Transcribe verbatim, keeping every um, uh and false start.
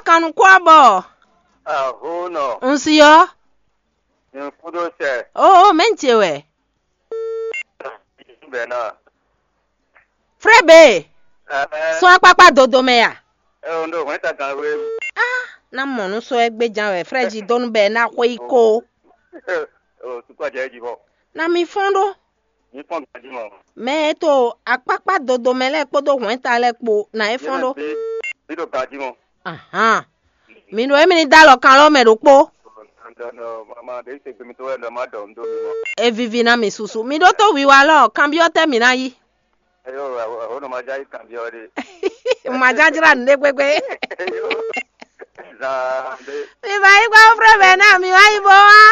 Kan nukún ɔ́ bɔ Aho nɔ, un si ɔ́. Nyɛ kúɖó sɛ, Oo, mɛ̌ ce wɛ? Bɛna. Frɛ be, Ɛɛ, sɔ́ akpákpá dodo mɛ ya? Ɛ o ndo hwɛn ta gan we. Ná mɔ nú sɔ́ ɛ gbéjan wɛ frɛ jí dó nú bɛ ná xwé yi kó. O sukɔ jɛ ji bɔ. Na mi fɔ́n ɖó. Ní fɔn gan ji mɔ. Mɛ e to akpákpá dodo mɛ lɛ́ɛ kpódó hwɛ̌nta lɛ́ɛ kpó ná é fɔ́n ɖó. Bí ɖo gan ji mɔ. Ahan. Mi ɖo émi ní dó alɔ kan lɔ mɛ ɖokpó. Mama ɖe se gbemi to wɛ lɔ ma dɔ ndo mi mɔ. E vivi ná mi susu. Mi ɖótó wiwa lɔ kanbyɔ́ tɛ́ mi ná yí. Eyo, o nɔ ma ja yi kanbyɔ́ ɖe. Màjájrá nǔɖé gbégbé. Zan ɖe. Mi va yí gbá frɛ mɛ ná mi wá yí bó wá.